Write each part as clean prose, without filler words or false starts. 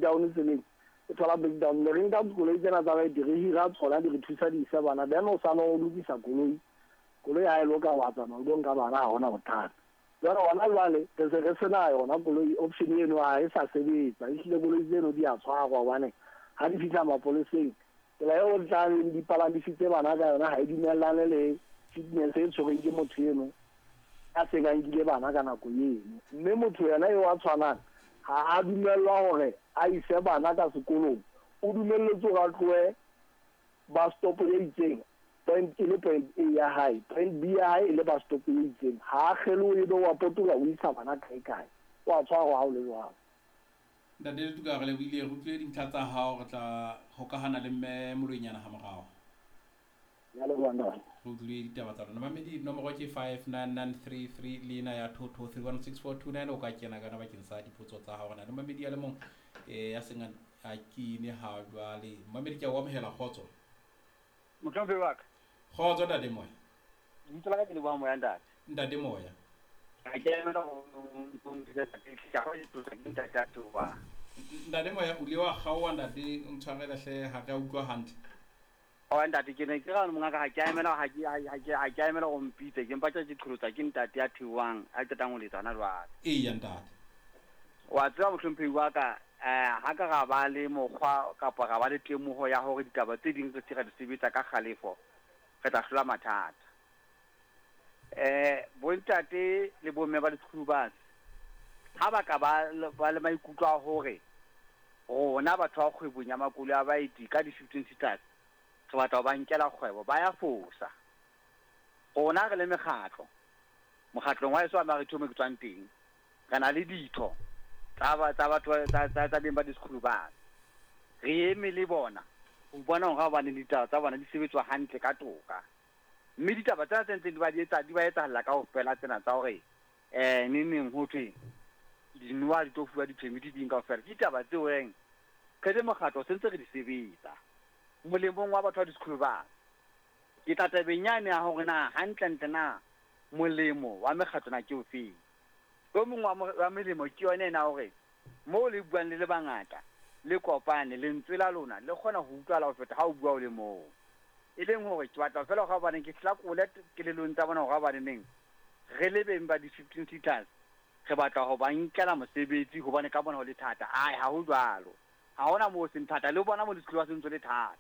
breakdown tseleng, e thola breakdown. Ne re nka koloi tsena tsa baeti, re hira tsona, di re thusa di isa bana, then o sala o lokisa koloi. Koloi ha e loka, wa tsamaya o lo nka bana, ha hona bothata. Jwale hona jwale re se re sena yona koloi, option eno ha e sa sebetsa. Ehlile koloi tseno di a tshwarwa, hobane ha di fihla mapoleseng, tsela eo di tla di palamisitse bana ka yona ha e dumellane le fitness e tshwerweng ke motho eno a seng a nkile bana ka nako eno. Mme motho yena eo a tshwanang ha a dumellwa hore a ise bana ka sekolong, o dumelletswe hore a tlohe bus stop e itseng, point e le point A ya hae, point B ya hae e le bus stop e itseng. Ha a kgelohe, ebe wa potoloha o isa bana kae kae, o a tshwarwa ha o le jwalo. Ntate Letuka, re lebohile, re utlwile dintlha tsa hao, re tla hokahana le mme Moloinyana ha morao. Ya leboha, ntate. Re utlwile ditaba tsa lona. Mamedi, nomoro ke 59933 le ena ya 22316429, o ka kena kana bakeng sa dipotso tsa hao. Re na le mamedi a le mong ya seng a kene ha jwale. Mamedi, ke a o amohela, kgotso. Mohlomphehi wa ka. Kgotso, ntate Moya. Lebitso la ka ke Leboha Moya, ntate. Ntate Moya. Ha ke emela ho ntate a Toba. Ntate Moya, o ile wa kgaoha, ntate, o ntshwarele hle, ha re a utlwa hantle. Oa ntate, ke ne ke ra mongaka, ha ke a emela, ha ke a emela go mpitse, ke mpa ke qholotsa ke ntate ya theohang a qetang ho letsa hona jwale. Eya, ntate. Wa tseba, mohlomphehi wa ka, ha ka ra ba le mokgwa kapa ra ba le temoho ya hore ditaba tse ding re se ra di sebetsa ka kgalefo, re tla hlola mathata. Bontate le bomme ba di-school bus ha ba ka ba le maikutlo a hore rona batho ba kgwebong ya makoloi a baeti ka di-15 seaters re batla ho ba nkela kgwebo, ba ya fosa. Rona re le mekgatlo, mokgatlong wa heso wa Maritho mo ke tswang teng, re na le ditho tsa batho tsa beng ba di-school bus. Re eme le bona ho bona hore hobane ditaba tsa bona di sebetswa hantle ka toka. Mme ditaba tsena tse ntseng di ba di etsa, di ba etsahalla kaofela tsena tsa hore neng neng ho thwe dinoha di tlo fuwa di-permit ding kaofela, ke ditaba tseo reng re le mokgatlo se ntse re di sebetsa molemong wa batho ba di-school bus. Ke tla tabeng yane ya hore na hantlentle na molemo wa mekgatlo na ke ofeng. O mong wa melemo ke yone ena, hore moo le buang le le bangata, le kopane, lentswe la lona le kgona ho utlwahala ho feta ha o bua o le mong. E leng hore ke batla fela hore hobaneng ke hlakole kelellong tsa bona hore hobaneneng re le beng ba di-15 seaters re batla ho ba nkela mosebetsi, hobane ka bona ho le thata. Ai, ha ho jwalo, ha hona moo seng thata, le bona mo di-school bus ntse le thata,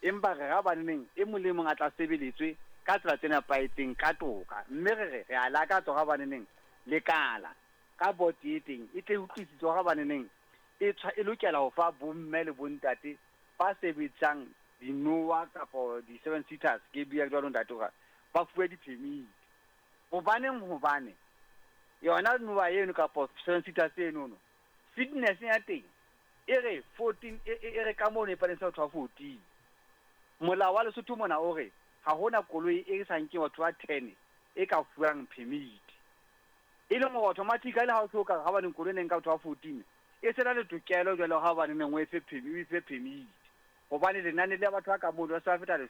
empa re ra hobaneneng e mong le mong a tla sebeletswe ka tsela tse nepahetseng ka toka. Mme re a lakatsa hore hobaneneng lekala ka board e teng e tle e utlwisise hore hobaneneng e lokela ho fa bomme le bontate ba sebetsang dinoa kapa di-seven seaters, ke bua jwalo ntate, hore ba fuwe di-permit. Hobaneng? Hobane yona noa eno kapa seven seaters enono, fitness ya teng e re 14, e re ka mono e palesa batho ba 14. Molao wa Lesotho mona o re ha hona koloi e sa nkeng batho ba 10 e ka fuwang permit, e leng hore automatically ha o so ka ha baneng koloi e neng ka batho ba 14 e sena le tokelo jwale ha baneng o e fe permit, o e fe permit, hobane lenane le batho ba ka mono ba se ba feta 10.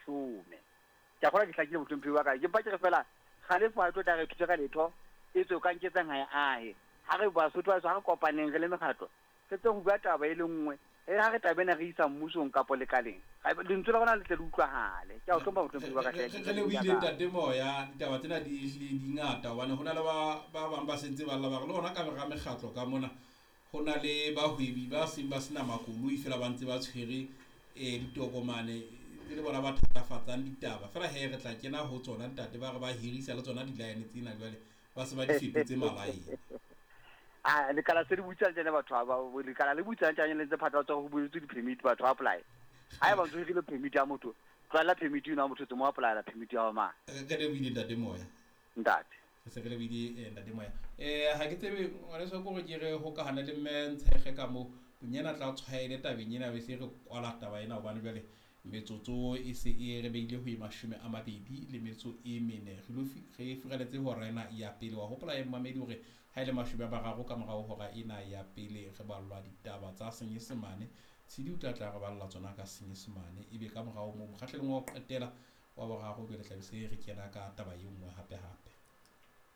Ke a kgolwa ke hlakile, mohlomphehi wa ka. Ke mpa ke re fela kgalefo ha e tlo tla re thusa ka letho, e tswe ka nketsang ha e ahe. Ha re Basotho ba, ha re kopaneng re le mekgatlo, re tse ho bua taba e le nngwe, e ha re taba ena re isa mmusong kapo lekaleng, lentswe la rona le tle le utlwahale. Ke a o hlompha, mohlomphehi wa ka. Re lebohile, ntate Moya. Ditaba tsena di ehlile di ngata, hobane ho na le ba bang ba sentse ba lla, ba re le hona ka hara mekgatlo ka mona ho na le bahwebi ba seng ba sena makoloi, fela ba ntse ba tshwere ditokomane, e le bona ba thatafatsang ditaba fela. He, re tla kena ho tsona, ntate. Ba re ba hirisa le tsona di-line tsena, jwale ba se ba di fetotse malaene. A lekala se le butsa tjena, batho ba lekala le butsa tjena, le ntse phatlalatsa ho buletswe di-permit, batho ba apply. Ha eba ntso hirile permit ya motho, tlwaela permit eno ya motho, tse mo applyela permit ya hao mang. Re lebohile, ntate Moya. Ntate. Re se re lebohile, ntate Moya. Ha ke tsebe, ngwaneso, ke hore ke re hokahane le mme Ntshege ka moo bonyana tla tshwaele tabeng ena, be se re kwala taba ena, hobane jwale metsotso e se e re beile ho e 24 re furaletse hora ena ya pele. Wa hopola e mmamedi hore ha e le 30 ka morao hora ena ya pele re ballwa ditaba tsa Senyesemane. Tshedi o tla tla re balla tsona ka Senyesemane, ebe ka morao moo mokgahlelong wa ho qetela wa boraro jwale tla be se re kena ka taba e nngwe hape hape.